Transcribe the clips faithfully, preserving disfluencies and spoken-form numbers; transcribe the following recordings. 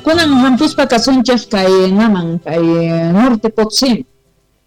Kunan hampuspa kasunchik kay naman kay Norte Potosí,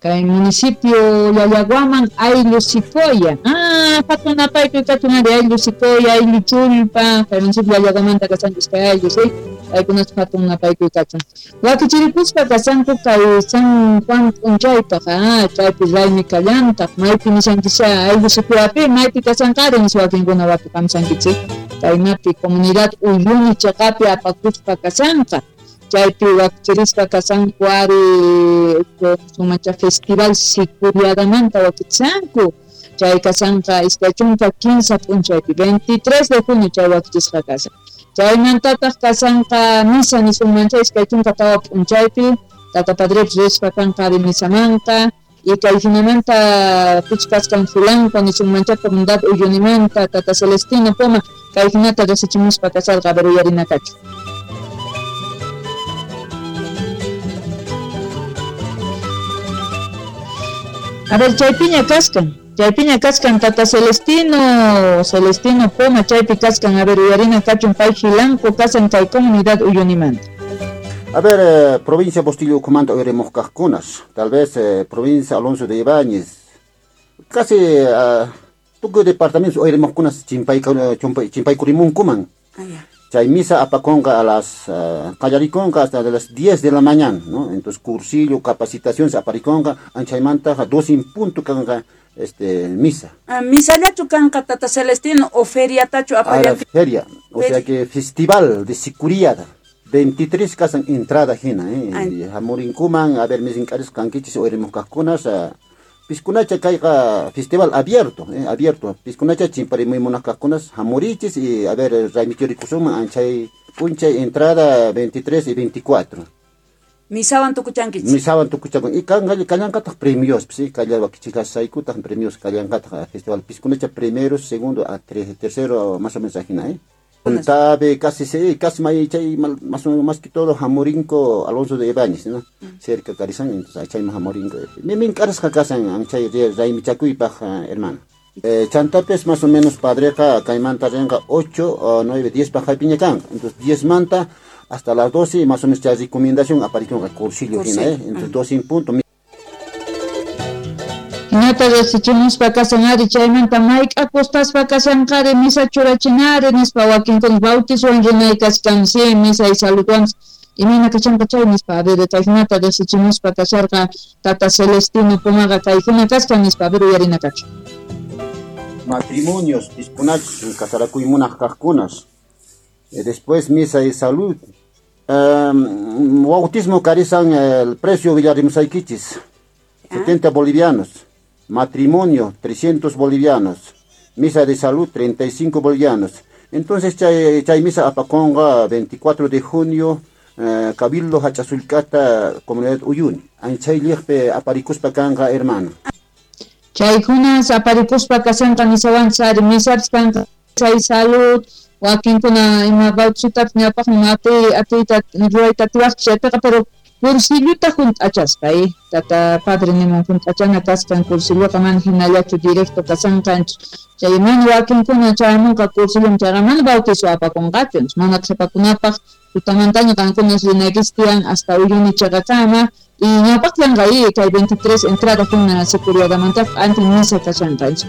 kay municipio Llallaguaman ayllu Sicoya. Ah, hatun napaykuy kachun ari ayllu Sicoya, ayllu Chullpa, kay municipio Llallaguamanta kasanchis kay ayllu, sí. Paykunachu hatun napaykuy kachun. Wakichirikuspa kasanku kay San Juan p'unchaypaq, ah, chaypi raymi kallantaq, maypi nishanchischa ayllu Sicoyapi, maypi kasanqari nispa wakinkuna watukamsankichik. Kaynapi comunidad Uyuni chaqapi apakuspa kasanqa. Chaypi wakichirispa kasanku ari sumacha festival Sicuriadamanta wakichanku. Chay kasanqa iskay chunka kinsa p'unchaypi veintitrés de junio chay wakichisqa kasan. Chaymantataq kasanqa misa nisunmancha iskay chunka tawa p'unchaypi tata padrepis rispa kanqa ari misamanqa. Y kay hinamanta pichkaskan fulanco nisunmancha comunidad Uyunimanta tata Celestino Poma kay hinata riqsichimuspa kasarqa a ver uyarinakachu. A ver, chaypiña kaskan, chaypiña kaskan tata Celestino, Celestino Poma, chaypi kaskan, a ver, uyarina kachun pay Jilanco kasan kay comunidad Uyunimanta. A ver, eh, provincia Bustillo comanda oiremos cascunas, tal vez eh, provincia Alonso de Ibáñez, casi uh, tuku departamento oiremos cunas chimpay chimpay kurimunkuman. Ah, ya. Chay misa apaconga a las uh, callariconga hasta de las diez de la mañana, ¿no? Entonces cursillo, capacitación se apariconga, anchaymanta dos en punto canga este misa. Ah, misa llachu kanqa tata Celestino o feria tachu aparian. Feria, o sea que festival de Sicuriada. veintitrés casan entrada jina, eh. Hamurinkuman, a ver mis encares canquichis oiremos cascunas, uh, Piscunacha caiga festival abierto, eh, abierto. Piscunacha chimparimuy cascunas, hamurichis y a ver raimichurikusuma anchay punchay entrada veintitrés y veinticuatro. Misawan tukuchankichis. Misawan tukuchankichis. Y kan kallanqataq premios, sí, kallawakichilasaykutaq premios kallanqataq festival Piscunacha primero, segundo, a tres, tercero, más o menos ajina, eh. Tabe casi sí, casi may chay más o más que todo Jamorinco Alonso de Ibáñez, ¿no? Mm. Cerca Carizán, entonces chay Jamorinco. Me me encargas casan chay raimichakuypaq hermano. Eh, chantapes más o menos padreja caimanta renga ocho o nueve, diez pa piña can. Entonces diez manta hasta las doce más o menos ya recomendación apareció un cursillo, cursillo. ¿Eh? Entonces doce en punto. Hinata riqsichimuspa kasan ari chaymanta mayk'a kustaspa kasanqari misa churachinari nispa wakinkuna bautizowan rinay kaskan sí misa y saludwan imayna kachanqa chay nispa a ver kay hinata riqsichimuspa kasharqa tata Celestino Pumaqa kay hina kaskan nispa a ver uyarina kachu. Matrimonios piskunachus casarakuymunaq kaqkunas. Después misa y salud. Um, bautismo karizan el precio villarimusaykichis setenta bolivianos. Matrimonio, trescientos bolivianos. Misa de salud, treinta y cinco bolivianos. Entonces, chay, chay misa apaconga, veinticuatro de junio, eh, Cabildo Hachazulcata, Comunidad Uyuni. Anchay liejpe aparicuspa kanga, hermano. Chay kunas aparicuspa kasanka nisawan sari, misa kanka, chay salud, wakinkuna ima bautizutap ñawpaqmi ati atiyta ruwayta atiwaqchis chaypiqa, pero cursilluta junt'achaspa, eh? Tata padre nimun junt'achana kaskan cursilluqa mana hinallachu directo kasanqanchu. Chay mana wakinkuna chayamunqa cursillum chayqa mana bautizo apakunqachu, mana qhipakunapaq tutamantaña qankunas rinaykichis tiyan hasta Uyuni chaqakama y ñawpaqllanqa eh, kay veintitrés entrada kuna Sicuriadamantaqa antes misa kashanqanchu.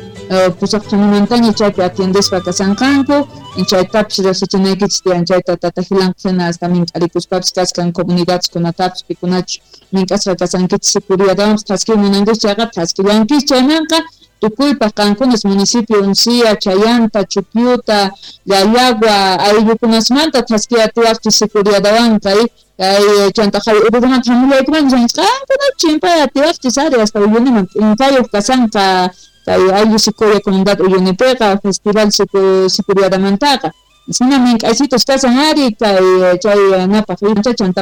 Pusaqchanimantaña chaypi atiendespa kasanqanku chaytapis riqsichinaykichis tiyan chayta tata Jilanqa hina hasta mink'arikuspapis kaskan comunidadkunatapis pikunachu mink'asqa kasankichis Sicuriadawanpis thaskiy munankichis chayqa thaskillankichis chaymanqa tukuypaq qankunas municipio Uncía, Chayanta, Chupiuta, Llallagua, ayllukunasmanta thaskiy atiwaqchis Sicuriadawanqa kay chantaqay ururumanta hamullaykuman qankuna chimpay atiwaqchis ari hasta Uyuniman p'inkayuq kasanqa kay ayllu Sicoya comunidad Uyunipiqa festival Sicuriadamantaqa hina mink'aysitos kasan ari kay chay napaq chantap